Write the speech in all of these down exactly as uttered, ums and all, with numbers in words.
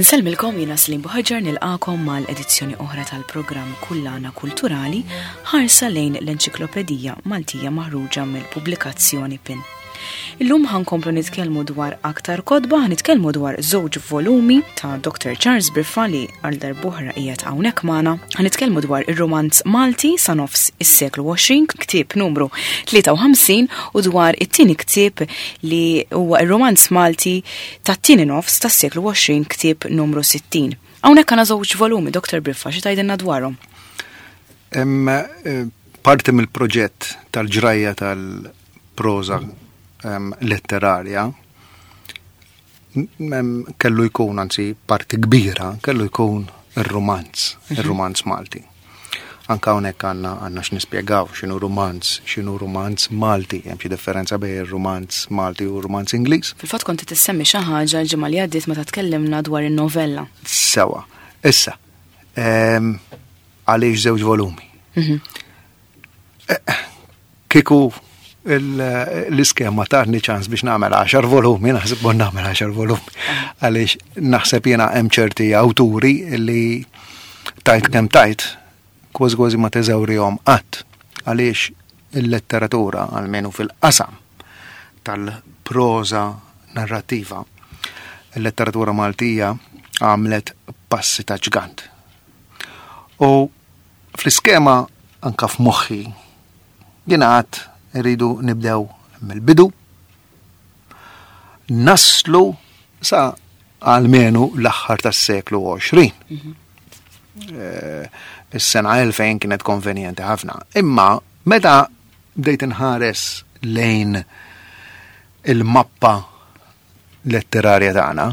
Insellmilkom, jiena Slim Buħaġar, nilqagħkom mal-edizzjoni oħra tal-programm Kullana Kulturali, ħarsa lejn l-Enċiklopedija Maltija maħruġa mill-pubblikazzjoni PIN. Illum ħa nkomplu nitkellmu dwar aktar kotba, ħa nitkellmu dwar żewġ volumi ta' Doctor Charles Briffa li għal darb'oħra qiegħed hawnhekk magħna. Ħa nitkellmu dwar ir-romanz Malti sa nofs is-seklu għoxrin, ktieb numru tlieta u ħamsin, u dwar it-tieni ktieb li huwa ir-romanz Malti tat-tieni nofs tas-seklu għoxrin, ktieb numru sittin. Hawnhekk għandna żewġ volumi, Doctor Briffa, xi tgħidilna dwarhom? Hemm eh, parti mill-proġett tal-ġrajja tal-proza em, letterarja em, kellu jkun, anzi parti kbira, kellu jkun ir-romanz, ir-romanz Malti. Anka hawnhekk għandna għandna x'nispjegaw x'inhu romanz, x'inhu romanz Malti, hemm xi differenza bejn ir-romanz Malti u r-romanz Ingliż. Fil-fatt konti tissemmi xi ħaġa l-ġimgħa li għaddiet meta tkellimna dwar in-novella. Sewa. Issa, em, għaliex żewġ volumi? Eh, Kieku il- l-iskema tatni ċans biex nagħmel għaxar volumi, naħseb bon nagħmel għaxar volumi. Għaliex naħseb jiena hemm ċerti awturi li tajt kemm tajt, kważi kważi ma teżawrihom qatt. Għaliex il-letteratura, almenu fil-qasam tal-proza narrativa, il-letteratura Maltija għamlet passi ta' ġgant. U fl-iskema anka f'moħħi jiena għad irridu nibdew mill-bidu, naslu sa almenu l-aħħar tas-seklu għoxrin. Eh, Is-sena elfejn kienet konvenjenti ħafna. Imma meta bdejt inħares lejn il-mappa letterarja tagħna,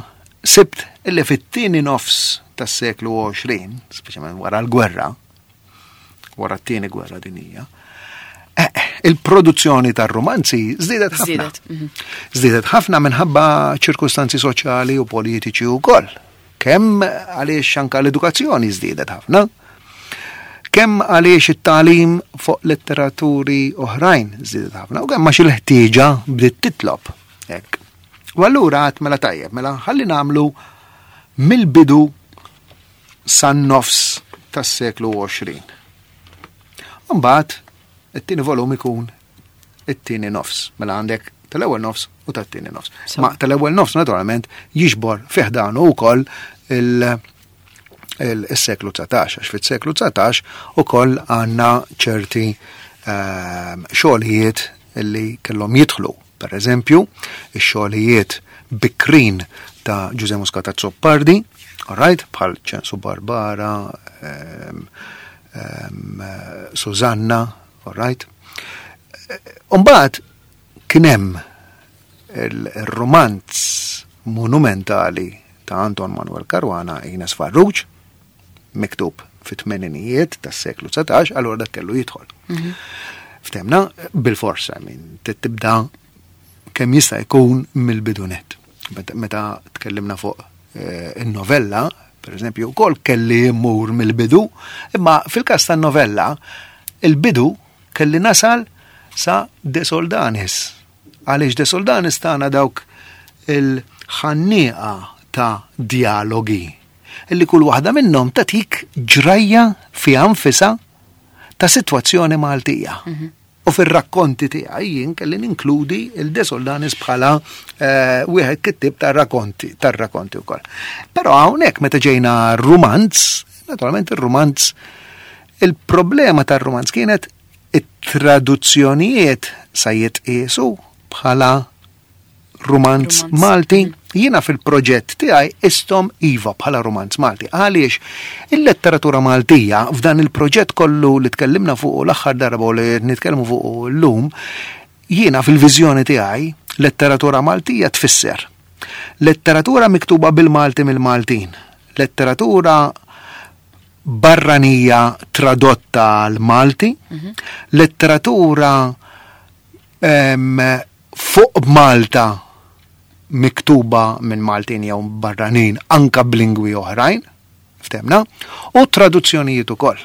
sibt illi fit-tieni nofs tas-seklu għoxrin, speċjalment wara l-gwerra, wara t-tieni gwerra dinija, eh, il-produzzjoni tar-romanzi żdiedet ħafna. Żdiedet, mhm. Żdiedet ħafna minħabba ċirkustanzi soċjali u politiċi wkoll. Kemm għaliex anka l-edukazzjoni żdiedet ħafna, kemm għaliex it-tagħlim fuq letteraturi oħrajn żdiedet ħafna, u kemm għax il-ħtieġa bdiet titlob. Hekk. U allura għedt mela tajjeb, mela ħalli nagħmlu mill-bidu san-nofs tas-seklu għoxrin. Mbagħad it-tieni volum ikun it-tieni nofs. Mela għandek tal-ewwel nofs u tat-tieni nofs. So. Ma tal-ewwel nofs naturalment jiġbor fih danu wkoll il- il-seklu dsatax, għax fis-seklu dsatax ukoll għandna ċerti ehm, xogħlijiet li kellhom jidħlu. Per eżempju, ix-xogħlijiet bikrin ta' Ġużè Muscat Azzopardi, all right, bħal Ċensu Barbara, ehm, ehm, Susanna, all right. Umbagħad kien hemm il-romanz monumentali ta' Anton Manuel Caruana, Ines Farrugia, miktub fit-tmeninijiet tas-seklu dsatax, allura dak kellu jidħol. Ftemna, bil-forsa, min tibda kemm jista' jkun mill-bidunet. Meta- Meta tkellimna fuq eh, in-novella, per eżempju, ukoll kelli mmur mill-bidu, imma fil-każ tan-novella, il-bidu kelli nasal sa De Soldanis. Għaliex De Soldanis tana dawk il-ħannieqa ta' dialogi illi kull waħda minnhom tatik ġrajja fiha nfisha ta' sitwazzjoni Maltija. U fir-rakkonti tiegħi jien kelli ninkludi il-De Soldanis bħala eh, wieħed kittib tar-rakkonti tar-rakkonti wkoll. Però hawnhekk meta ġejna romanz, naturalment ir-romanz, il-problema tar-romanz kienet it-traduzzjonijiet sa jitqiesu bħala romanz Romanz. Malti. Jiena fil-proġett tiegħi qisthom iva bħala romanz Malti. Għaliex il-letteratura Maltija f'dan il-proġett kollu li tkellimna fuq l-aħħar darba u li nitkellmu fuq llum, jiena fil-viżjoni tiegħi letteratura Maltija tfisser letteratura miktuba bil-Malti mill-Maltin, letteratura barranija tradotta għal Malti, letteratura em, fuq Malta miktuba minn Maltin jew barranin anka b'lingwi oħrajn, ftemna, u traduzzjonijiet ukoll.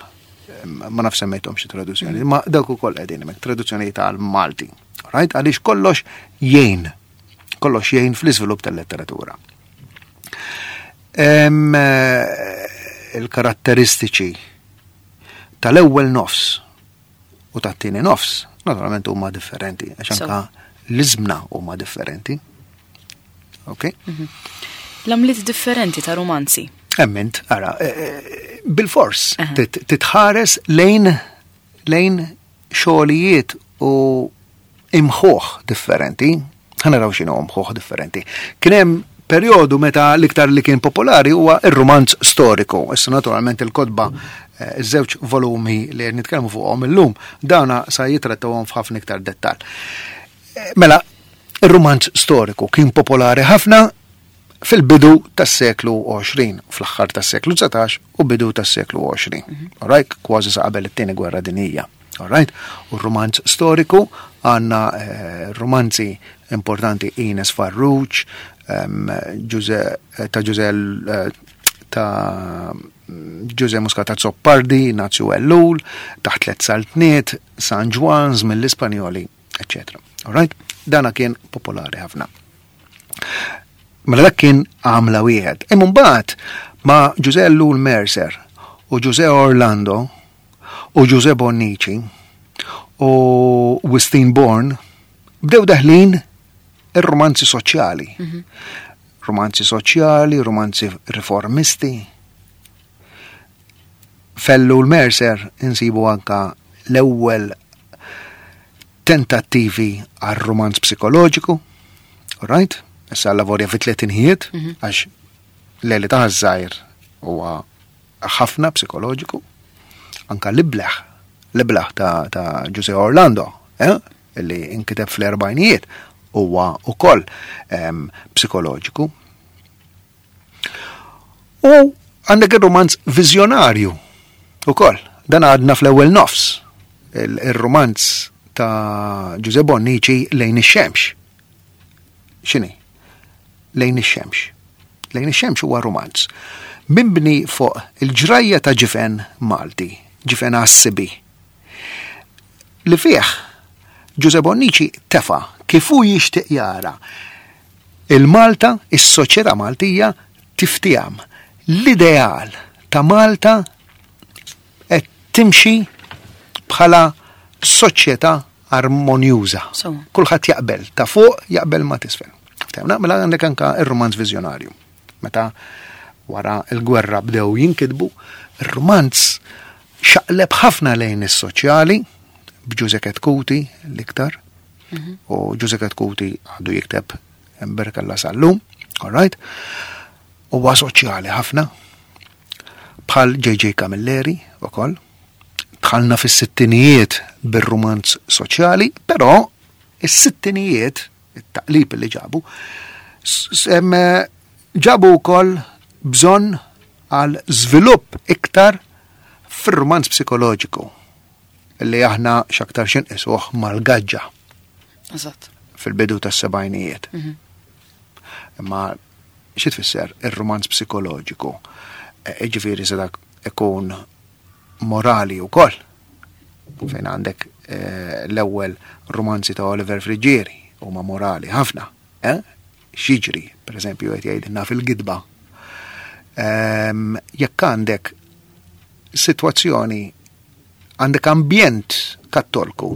Em, Ma naf semmejthom xi traduzzjoni, ma dawk ukoll qegħdin hemmhekk traduzzjonijiet għal Malti. Right? Għaliex kollox jgħin, kollox jgħin fl-iżvilupp tal-letteratura. Em, eh, Il-karatteristiċi tal-ewwel nofs u tat-tieni nofs naturalment huma differenti, għax So. anka l-iżmna huma differenti. Ok? L-għamliet differenti ta' romanzi. Emmint, ara, eh, eh, bil-fors, Aha. tit- titħares lejn lejn xogħlijiet u imħuħ differenti. Ħa naraw x'inhu imħuħ differenti. Kien hemm perjodu meta l-iktar li kien popolari huwa ir-romanz storiku. Issa naturalment il-kotba eh, iż-żewġ volumi li nitkellmu fuqhom illum, dawna sa jitrattawhom f'ħafna iktar dettal. Eh, Mela, ir-romanz storiku kien popolari ħafna fil-bidu tas-seklu għoxrin, fl-aħħar tas-seklu dsatax u bidu tas-seklu għoxrin. Alright, kważi sa qabel it-tieni gwerra dinjija. Alright, u r-romanz storiku għandna eh, romanzi importanti Ines Farrugia, um, Ġuże, ta' Ġuże eh, ta' Ġuże Muscat Azzopardi, Nazju Ellul, Taħt Tliet Saltniet, San Ġwann mill-Ispanjoli, eccetera. Alright, dana kien popolari ħafna. Mela dak kien għamla wieħed. Imma mbagħad ma' Ġuże Ellul Mercer u Ġuże Orlando u Ġuże Bonnici u Wistin Born bdew daħlin ir-romanzi soċjali. Romanzi soċjali, romanzi riformisti. F'Ellul Mercer insibu anka l-ewwel tentattivi għal romanz psikoloġiku, right? Issa lavorja fi tletinijiet, għax l-eli ta' żgħir huwa ħafna psikoloġiku. Anka l-ibleħ, l-ibleħ ta', ta' Giuseppe Orlando, eh? Illi inkiteb fl-erbajnijiet, huwa ukoll em, psikoloġiku. U għandek il-romanz viżjonarju ukoll. Dan għadna fl-ewwel nofs. Il- Il-romanz ta' Giuseppe Bonnici, Lejn ix-Xemx. X'inhi? Lejn ix-Xemx. Lejn ix-Xemx huwa romanz mibni fuq il-ġrajja ta' ġifen Malti, ġifen Għas-Sibi. Li fih Giuseppe Bonnici tefa kif hu jixtieq jara il-Malta, is-soċjetà Maltija tiftijam. L-ideal ta' Malta qed timxi bħala soċjetà armonjuża. So. Kulħadd jaqbel, ta' fuq jaqbel ma' t'isfel. Ftehmna, mela għandek anka ir-romanz viżjonarju. Meta wara il-gwerra bdew jinkitbu, ir-romanz xaqleb ħafna lejn is-soċjali, b'Ġuże Chetcuti l-iktar, u Ġuże Chetcuti għadu jikteb Emberkalla sal-lum, all right? Huwa soċjali ħafna, bħal J J. Camilleri ukoll. Dħalna fis-sittinijiet bir-romanz soċjali, però is-sittinijiet, it-taqlib li ġabu, s- s- em, ġabu wkoll bżonn għal żvilupp iktar fir-romanz psikoloġiku li aħna x'aktar xinqisuh mal-gaġġa Eżatt. fil-bidu tas-sebgħinijiet. Imma xi tfisser ir-romanz psikoloġiku? E, Ġifieri se dak ikun morali wkoll. Fejn għandek eh, l-ewwel romanzi ta' Oliver Friggieri huma morali ħafna. Eh? X'jiġri, per eżempju, qed jgħidilna fil-gidba. Ehm, Jekk għandek sitwazzjoni, għandek ambjent kattolku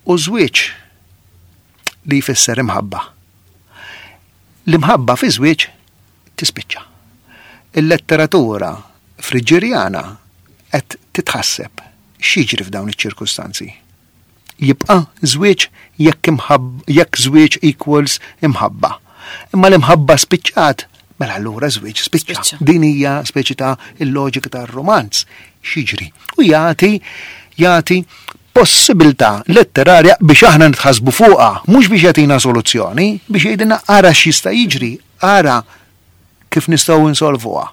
u żwieġ li jfisser imħabba. L-imħabba fi żwieġ tispiċċa. Il-letteratura friġġerjana qed titħasseb x'jiġri f'dawn iċ-ċirkustanzi. Jibqa' żwieġ jekk imħab- jekk żwieġ equals imħabba. Imma l-imħabba spiċċat, mela allura żwieġ spiċċa. Spiċċa. Din hija speċi ta' il-loġika tar-romanz. X'jiġri? U jagħti jagħti possibilità letterarja biex aħna nitħasbu fuqha, mhux biex jagħtina soluzzjoni, biex jgħidilna ara x'jista' jiġri, ara kif nistgħu insolvuha.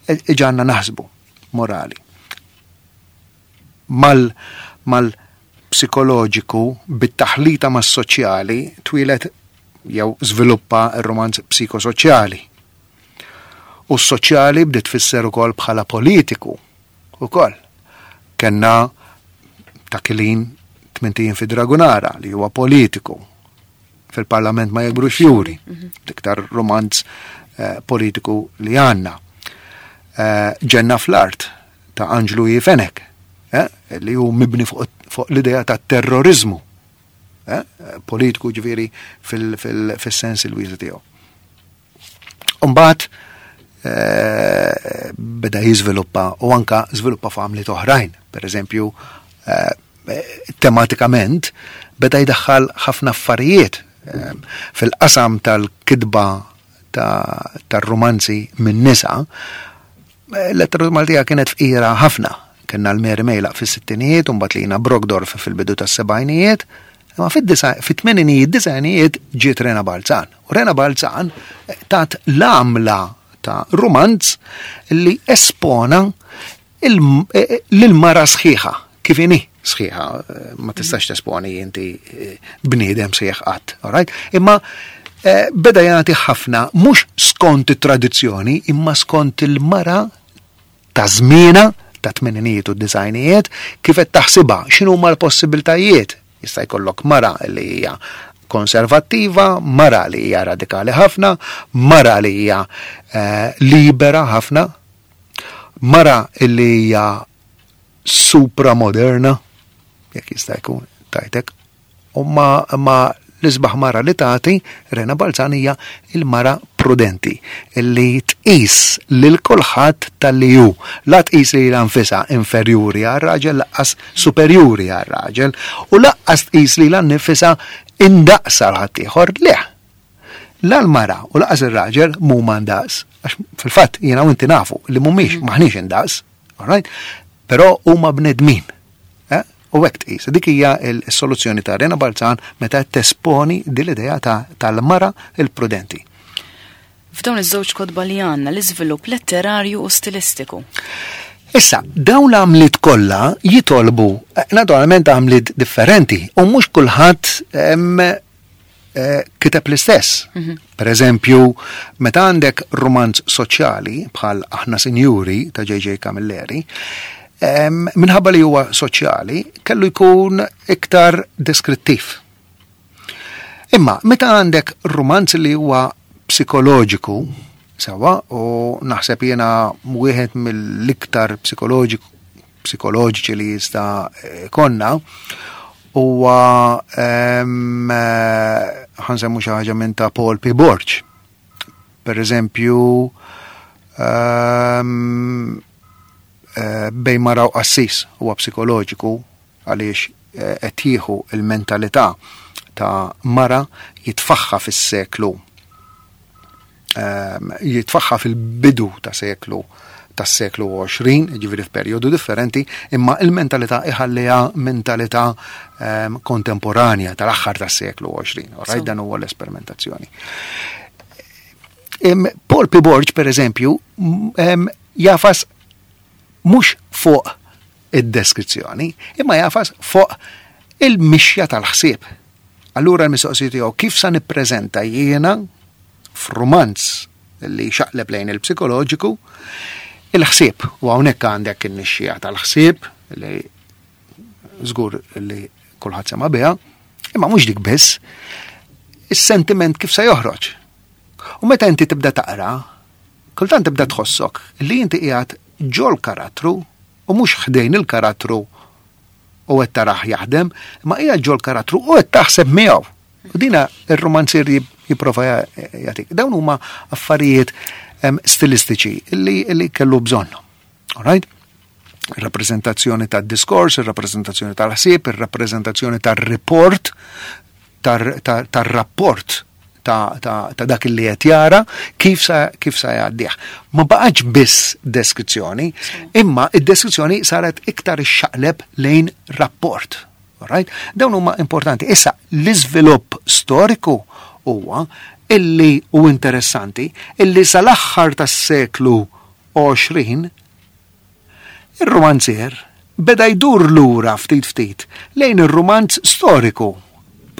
E- Iġagħalna naħsbu morali. Mal mal psikoloġiku bit-taħlita mas-soċjali twieled jew żviluppa r-romanz psikosoċjali. U s-soċjali bdiet tfisser ukoll bħala politiku ukoll. Kenna ta' Kilin Tmint Ijiem fi Dragunara li huwa politiku, Fil-Parlament ma Jikbrux Fjuri, l-iktar romanz eh, politiku li għandna. Eh, Ġenna fl-art ta' Anġlu Fenech, eh, li hu mibni fuq, fuq l-idea ta' terrorizmu eh, politiku, ġifieri fil-sens il-wiesa' tiegħu. Umbagħad eh, beda jiżviluppa u anka żviluppa f'għamliet oħrajn. Per eżempju, eh, tematikament beda jdaħħal ħafna affarijiet eh, fil-qasam tal-kitba tar-romanzi minn nisa. Letteratura Maltija kienet fqira ħafna. Kellna l-Mary Meilak fis-sittinijiet, u mbagħad Lina Brockdorff fil-bidu tas-sebgħinijiet, imma fit-tmeninijiet, disgħinijiet ġiet Rena Balzan. U Rena Balzan tat l-għamla ta' romanz li espona l-mara sħiħa, kif inhi sħiħa, ma tistax tesponi inti bniedem sħiħ qatt, alright? Imma beda jagħti ħafna mhux skont it-tradizzjoni, imma skont il-mara ta' żmienha ta' tmeninijiet u disgħinijiet, kif qed taħsibha, x'inhu huma l-possibiltajiet. Jista' jkollok mara li hija konservattiva, mara li hija radikali ħafna, mara li hija eh, libera ħafna, mara li hija supramoderna, jekk jista' jkun tajtek, u ma, ma l-isbaħ mara li tagħti Rena Balzan hija il-mara prudenti illi tqis lil kulħadd tal-li hu. La tqis li nfisha inferjuri għar-raġel, lanqas superjuri għar-raġel, u lanqas tqis li nfisha indaqs għal ħaddieħor. Le. La l-mara u lanqas ir-raġel mhuma ndaqs. Għax fil-fatt jiena u inti nafu li mhumiex, maħniex indaqs, alright? Però huma bnedmin. Eh? U hekk tqis. Dik hija l-soluzzjoni ta' Rena Balzan meta tesponi din l-idea tal-mara il-prudenti. F'dawn iż-żewġ kotba li għandna l-iżvilupp letterarju u stilistiku. Issa, dawn l-għamliet kollha jitolbu, naturalment, għamliet differenti u mhux kulħadd eh, kiteb l-istess. Mhm. Per eżempju, meta għandek romanz soċjali bħal Aħna Sinjuri ta' J J. Camilleri, minħabba li huwa soċjali, kellu jkun iktar deskrittiv. Imma meta għandek romanz li huwa psikoloġiku, sewa, u naħseb jiena wieħed mill-iktar psikoloġiku psikoloġiċi li jista' jkollna huwa, ħa nsemmu xi ħaġa minn ta' Paul P. Borg. Per eżempju, um, Bejn Mara u Qassis huwa psikoloġiku għaliex eh, qed jieħu il-mentalità ta' mara, jitfagħha fis-seklu ehm, jitfagħha fil-bidu ta' seklu tas-seklu għoxrin, ġifieri f'perjodu differenti, imma il-mentalità iħalliha mentalità um, kontemporanja tal-aħħar tas-seklu għoxrin. Right, dan huwa l-esperimentazzjoni. Paul P. Borg, per eżempju, jagħfas mhux fuq id-deskrizzjoni, imma jagħfas fuq il-mixja tal-ħsieb. Allura l-mistoqsija tiegħu: kif sa nippreżenta jiena f'rumanz li xaqleb lejn il-psikoloġiku il-ħsieb? U hawnhekk għandek in-nixxija tal-ħsieb li żgur li kulħadd sema biha, imma mhux dik biss, is-sentiment kif se joħroġ. U meta inti tibda taqra, kultant tibda tħossok li inti qiegħed ġol karattru u mhux ħdejn il-karattru u qed tarah jaħdem, ma qiegħed ġol karattru u qed taħseb miegħu. U dina ir-romanzier jipprova jagħtik. Dawn huma affarijiet stilistiċi li, li kellu bżonn. All right? Il-rappresentazzjoni tad-diskors, il-rappresentazzjoni tal-ħsieb, il-rappresentazzjoni tal-report, tar-rapport ta', ta, ta dak li qed jara kif sa kif sa jgħaddih. Ma baqgħetx biss deskrizzjoni, imma id-deskrizzjoni saret iktar ixxaqleb lejn rapport. Alright? Dawn huma importanti. Issa, l-iżvilupp storiku huwa illi u interessanti illi sal-aħħar tas-seklu għoxrin ir-romanzier beda jdur lura ftit ftit lejn ir-romanz storiku.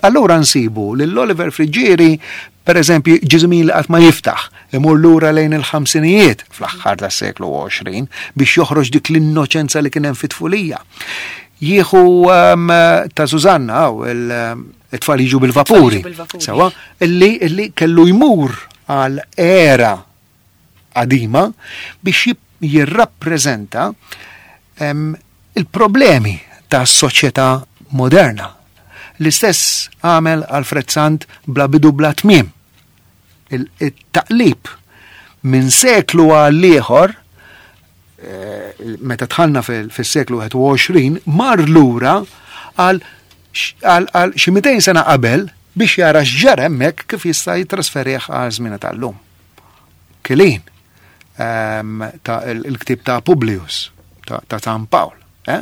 Allura nsibu lil Oliver Friggieri, per eżempju, Ġiżmin li qatt ma jiftaħ, imur lura lejn il-ħamsinijiet fl-aħħar tas-seklu għoxrin biex joħroġ dik l-innoċenza li kien hemm fit-tfulija. Jieħu um, ta' Susanna, u it-tfal jiġu bil-vapuri. Bil-vapuri. Sewa, illi, illi kellu jmur għal era qadima biex jirrappreżenta il-problemi ta' soċjetà moderna. L-istess għamel Alfred Sant bla bidu bla tmiem. Il-taqlib minn seklu għal ieħor, meta dħalna fis-seklu wieħed u għoxrin, mar lura għal xi mitejn sena qabel biex jara x'ġara hemmhekk, kif jista' jitrasferih għal żmien tal-lum. Kilin ta' il-ktib ta' Publius ta' San Pawl. Eh?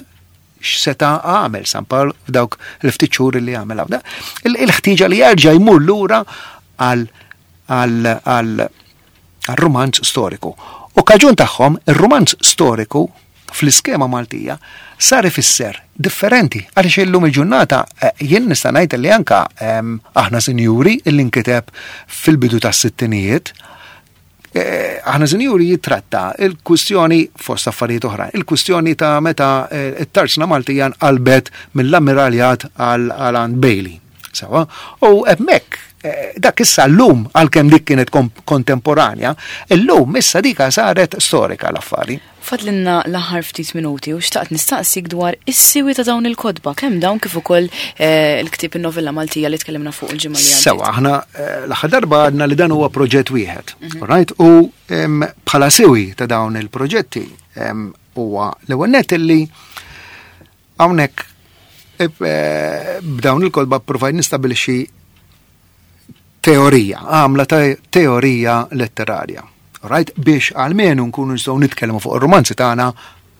X'seta' għamel San Pawl f'dawk il-ftit xhur li għamel hawn? Il-ħtieġa li jerġa' jmur lura għal għal romanz storiku. U kaġun tagħhom, ir-romanz storiku fl-iskema Maltija sar ifisser differenti, għaliex illum il-ġurnata eh, jien nista' ngħid li anka Aħna Sinjuri, illi nkiteb fil-bidu tas-sittinijiet, eh, Aħna Sinjuri jitratta il-kwistjoni, fost affarijiet oħra, il-kwistjoni ta' meta eh, it-tarzna Maltija nqalbet mill-ammiraljat għal għand Bailey. Sawa? U hemmhekk dak issa llum, għalkemm dik kienet kontemporanja, illum issa dika saret storika l-affari. Fadlinna l-aħħar ftit minuti u xtaqt nistaqsik dwar is-siwi ta' dawn il-kotba, kemm dawn kif ukoll eh, il-ktieb in-novella Maltija li tkellimna fuq il-ġimgħa li għaddiet. Sewa, aħna eh, l-aħħar darba għadna li dan huwa proġett wieħed. Mhm. Right? U bħala siwi ta' dawn il-proġetti huwa l-ewwel nett li hawnhekk eh, b'dawn il-kotba provajt nistabilixxi teorija, għamla ta' teorija letterarja. Right? Biex għalmenu nkunu nistgħu nitkellmu fuq ir-romanzi tagħna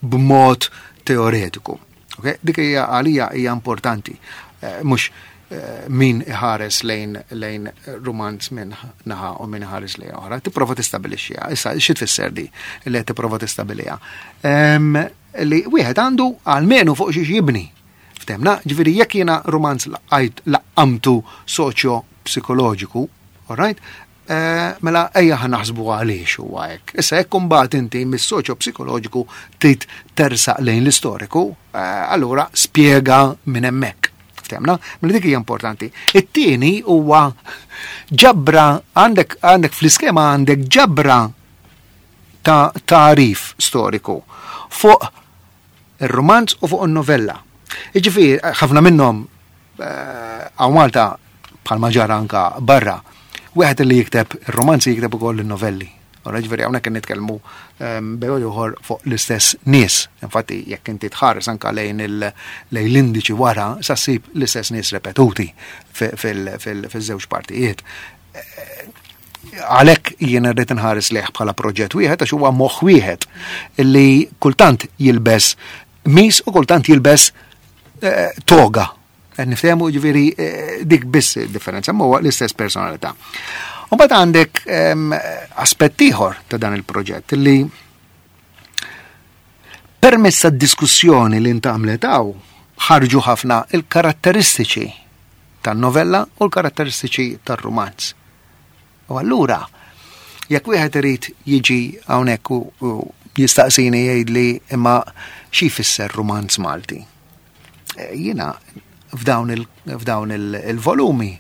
b'mod teoretiku. Okay? Dik hija għalija hija importanti. Eh, mhux eh, min iħares lejn lejn romanz minn naħa u min iħares lejn oħra, tipprova tistabilixxiha. Issa, xi tfisser di li qed tipprova tistabiliha? Li wieħed għandu għalmenu fuq xiex jibni. Ftemna, ġifieri jekk jiena romanz laqajt laqqamtu soċjo psikoloġiku, all right? Eh, mela ejja ħa naħsbu għaliex huwa hekk. Issa, jekk imbagħad inti mis-soċjo psikoloġiku trid tersaq lejn l-istoriku, eh, allura spjega minn hemmhekk. Ftemna? Mela dik hija importanti. It-tieni huwa ġabra, għandek għandek fl-iskema għandek ġabra ta' tarif storiku fuq ir-romanz u fuq in-novella. Jiġifieri ħafna minnhom hawn Malta, bħalma ġara anka barra, wieħed li jikteb ir-romanzi jikteb ukoll in-novelli. Ora, ġifieri hawnhekk nitkellmu bejn ieħor fuq l-istess nies. Infatti jekk inti tħares anka lejn lejn l-indiċi wara, sa ssib l-istess nies repetuti fil-żewġ partijiet. Għalhekk jien rrid nħares lejh bħala proġett wieħed, għax huwa moħħ wieħed illi kultant jilbes mis u kultant jilbes eh, toga. Niftehmu, ġifieri eh, dik biss differenza, ma huwa l-istess personalità. U mbagħad għandek aspett ieħor ta' dan il-proġett li permezz tad-diskussjoni li ntgħamlet hawn ħarġu ħafna il-karatteristiċi tan-novella u l-karatteristiċi tar-romanz. U allura, jekk wieħed irid jiġi hawnhekk u jistaqsini, jgħidli, "Imma xi jfisser romanz Malti?" Eh, jiena f'dawn il-volumi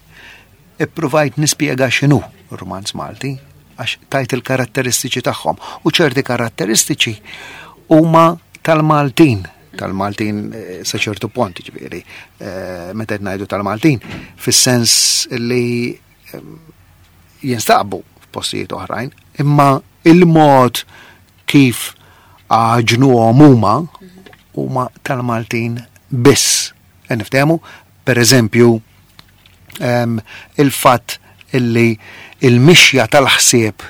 ippruvajt nispjega x'inhu romanz Malti, għax tajt il-karatteristiċi tagħhom, u ċerti karatteristiċi huma tal-Maltin tal-Maltin eh, sa ċertu punt, ġifieri, eh, meta qed ngħidu tal-Maltin, fis-sens li jinstabu f'postijiet oħrajn, imma il-mod kif għaġnuhom huma huma tal-Maltin biss. Niftehmu, per eżempju, il-fatt illi il-mixja tal-ħsieb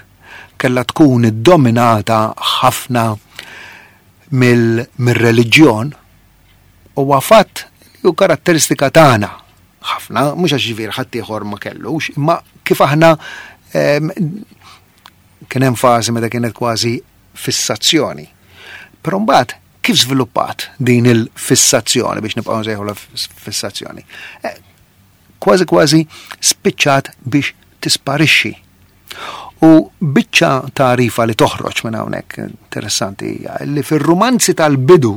kella tkun iddominata ħafna mill-reliġjon huwa fatt li hu karatteristika tagħna ħafna, mhux għax ġifieri ħadd ieħor ma kellux, imma kif aħna kien hemm fażi meta kienet kważi fissazzjoni. Però mbagħad kif żviluppat din il-fissazzjoni, biex nibqgħu nsejħu fissazzjoni? Eh, kważi kważi spiċċat biex tisparixxi. U biċċa tarifa li toħroġ minn hawnhekk interessanti hija li fir-rumanzi tal-bidu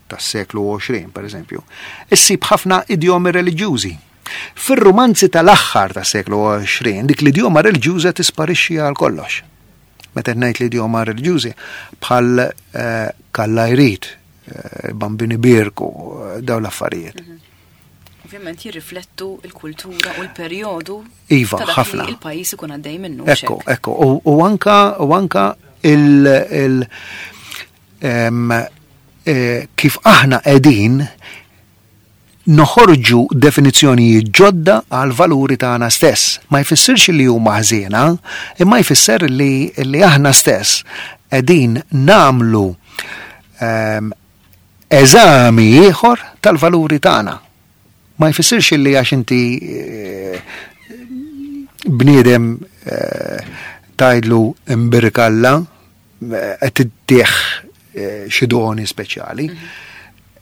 tas-seklu għoxrin, per eżempju, issib ħafna idjomi reliġjużi. Fir-rumanzi tal-aħħar tas-seklu għoxrin, dik l-idjoma reliġjuża tisparixxi għal kollox. Meta ngħid l-idjoma reliġjużi bħal eh, kalla jrid, eh, bambini birku, eh, dawn l-affarijiet. Mhm. Ovvjament jirriflettu l-kultura u l-perjodu Iva, ta' dak ħafna. li il-pajjiż ikun għaddej minnu. Ekku, ekku. U, u anka, u anka il, il em, eh, kif aħna qegħdin noħorġu definizzjonijiet ġodda għal valuri tagħna stess. Ma jfissirx li huma ħżiena, imma jfisser li, li aħna stess qegħdin nagħmlu em, eżami ieħor tal-valuri tagħna. Ma jfissirx li għax inti eh, bniedem eh, tgħidlu imbirkalla eh, qed tittieħ eh, xi doni speċjali.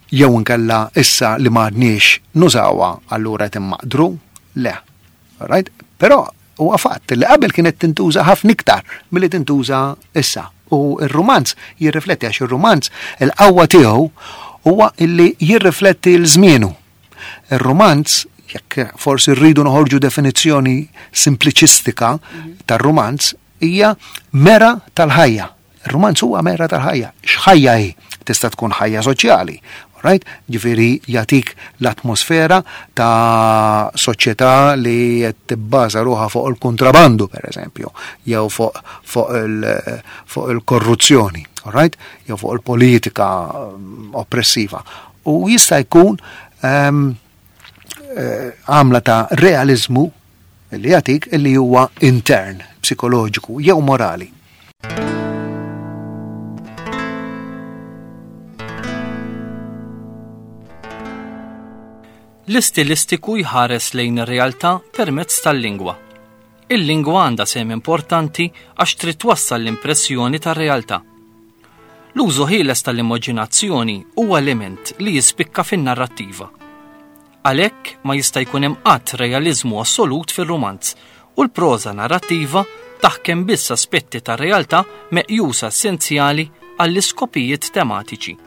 Jew inkella issa li m'għadniex nużawha allura qed immaqdru, le. Right? Però huwa fatt li qabel kienet tintuża ħafna iktar milli tintuża issa. U r-rumanz jirrifletti, għax ir-rumanz il-qawwa tiegħu huwa illi jirrifletti l-żmienu. Ir-rumanz, jekk forsi rridu noħorġu definizzjoni simpliċistika tar-rumanz, hija mera tal-ħajja. Ir-rumanz huwa mera tal-ħajja. X'ħajja hi? Tista' tkun ħajja soċjali. Right? Ġifieri jagħtik l-atmosfera ta' soċjetà li qed tibbaża ruħha fuq il-kontrabandu, per eżempju, jew fuq fuq il, fuq il-korruzzjoni, right? Jew fuq il-politika mm, oppressiva. U jista' jkun ehm, eh, għamla ta' realizmu li jagħtik li huwa intern, psikoloġiku jew morali. L-istilistiku jħares lejn ir-realtà permezz tal-lingwa. Il-lingwa għandha sehem importanti għax trid twassal l-impressjoni tar-realtà. L-użu ħieles tal-immaġinazzjoni huwa element li jispikka fin-narrattiva. Għalhekk ma jista' jkun hemm qatt realiżmu assolut fir-rumanz u l-proża narrattiva taħkem biss aspetti tar-realtà meqjusa essenzjali għall-iskopijiet tematiċi.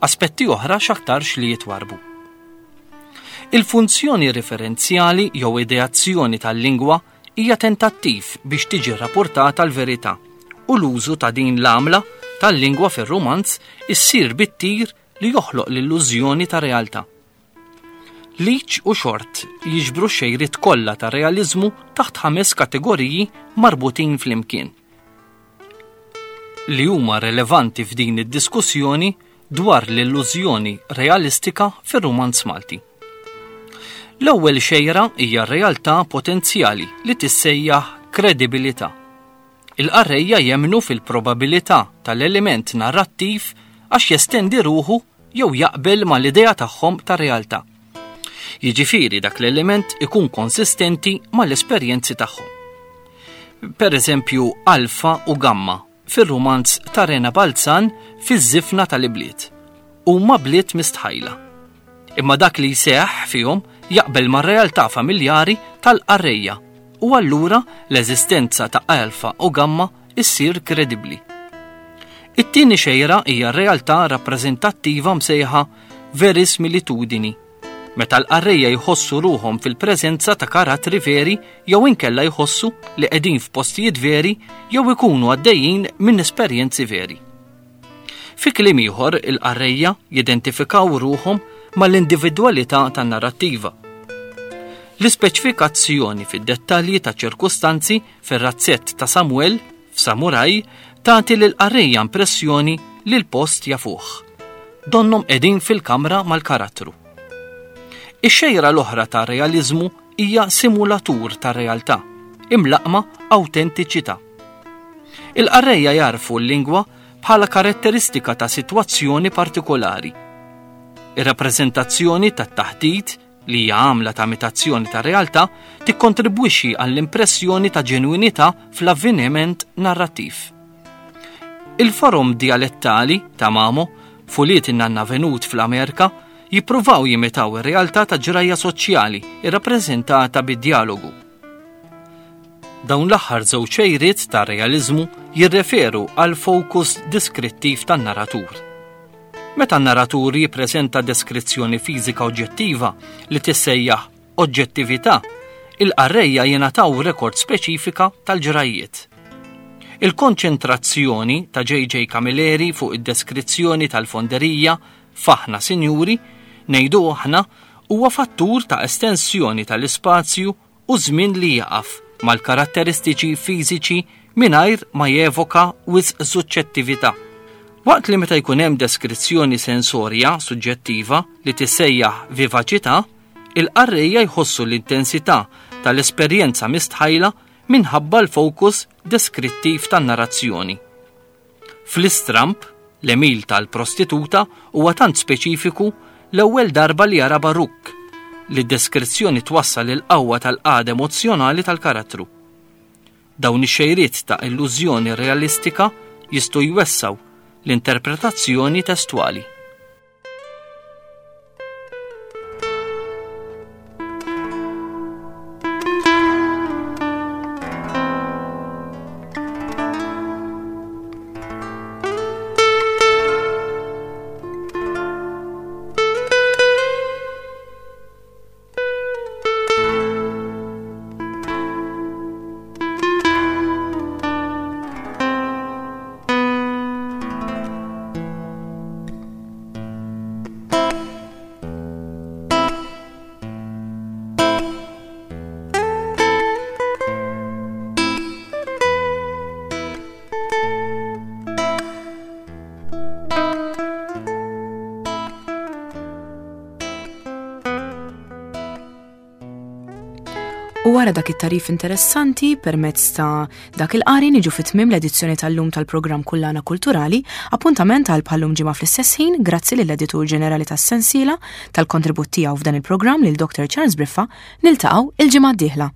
Aspetti oħra x'aktarx li jitwarbu. Il-funzjoni referenzjali jew ideazzjoni tal-lingwa hija tentattiv biex tiġi rrapportata l-verità u l-użu ta' din l-għamla tal-lingwa fir-rumanz issir bit-tir li joħloq l-illużjoni ta' realtà. Leach u Short jiġbru xejriet kollha ta' realiżmu taħt ħames kategoriji marbutin flimkien, li huma relevanti f'din id-diskussjoni dwar l-illużjoni realistika fir-rumanz Malti. L-ewwel xejra hija realtà potenzjali li tissejjaħ kredibilità. Il-qarrejja jemmnu fil-probabilità tal-element narrattiv għax jestendi ruħu jew jaqbel mal-idea tagħhom ta' realtà. Jiġifieri dak l-element ikun konsistenti mal-esperjenzi tagħhom. Per eżempju, Alfa u Gamma fir-rumanz ta' Rena Balzan fiż-żifna tal-ibliet. Huma bliet mistħajla. Imma dak li jseħħ fihom jaqbel mar-realtà familjari tal-qarrejja u allura l-eżistenza ta' Alfa u Gamma issir kredibbli. It-tieni xejra hija realtà rappreżentattiva msejħa verismilitudini, meta l-qarrejja jħossu ruħhom fil-preżenza ta' karattri veri jew inkella jħossu li qegħdin f'postijiet veri jew ikunu għaddejjin minn esperjenzi veri. Fi kliem ieħor, il-qarrejja jidentifikaw ruħhom mal-individwalità tan-narrattiva. L-ispeċifikazzjoni fid-dettalji ta' ċirkustanzi fir-razzett ta' Samuel f'Samuraj tagħti lill-qarrejja impressjoni li l-post jafuh. Donnhom qegħdin fil-kamra mal-karattru. Ix-xejra l-oħra ta' realiżmu hija simulatur ta' realtà, imlaqma awtentiċità. Il-qarrejja jarfu l-lingwa bħala karatteristika ta' sitwazzjoni partikolari. Ir-rappreżentazzjoni tat-taħdit, li hija għamla ta' imitazzjoni ta' realtà, tikkontribwixxi għall-impressjoni ta' ġenwinità fl-avveniment narrattiv. Il-forom dialettali ta' Mamo, fuliet in-nanna venut fl-Amerika, jippruvaw jimitaw ir-realtà ta' ġrajja soċjali irrappreżentata bid-dialogu. Dawn l-aħħar żewġ xejriet ta' realiżmu jirreferu għal fokus deskrittiv tan-narratur. Meta n-narratur jippreżenta deskrizzjoni fiżika oġġettiva li tissejjaħ oġġettività, il-qarrejja jingħataw rekord speċifika tal-ġrajjiet. Il-konċentrazzjoni ta' J J. Camilleri fuq id-deskrizzjoni tal-fonderija f'Aħna Sinjuri, ngħidu aħna, huwa fattur ta' estensjoni tal-ispazju u żmien li jaqaf mal-karatteristiċi fiżiċi mingħajr ma jevoka wisq suġġettività. Waqt li meta jkun hemm deskrizzjoni sensorja suġġettiva li tissejjaħ vivaċità, il-qarrejja jħossu l-intensità tal-esperjenza mistħajla minħabba l-fokus deskrittiv tan-narrazzjoni. Fl-Istramb, l-għemil tal-prostituta huwa tant speċifiku l-ewwel darba li jara Baruk li d-deskrizzjoni twassal il-qawwa tal-qagħda emozjonali tal-karattru. Dawn ix-xejriet ta' illużjoni realistika jistgħu jwessaw l-interpretazzjoni testwali. U wara dak it-tarif interessanti permezz ta' dak il-qari niġu fit-tmiem l-edizzjoni tal-lum tal-programm Kullana Kulturali, appuntament għal bħallum ġimgħa fl-istess ħin, grazzi lill-editur ġenerali tas-sensiela tal-kontribut tiegħu f'dan il-programm lil Doctor Charles Briffa, niltaqgħu il-ġimgħa d-dieħla.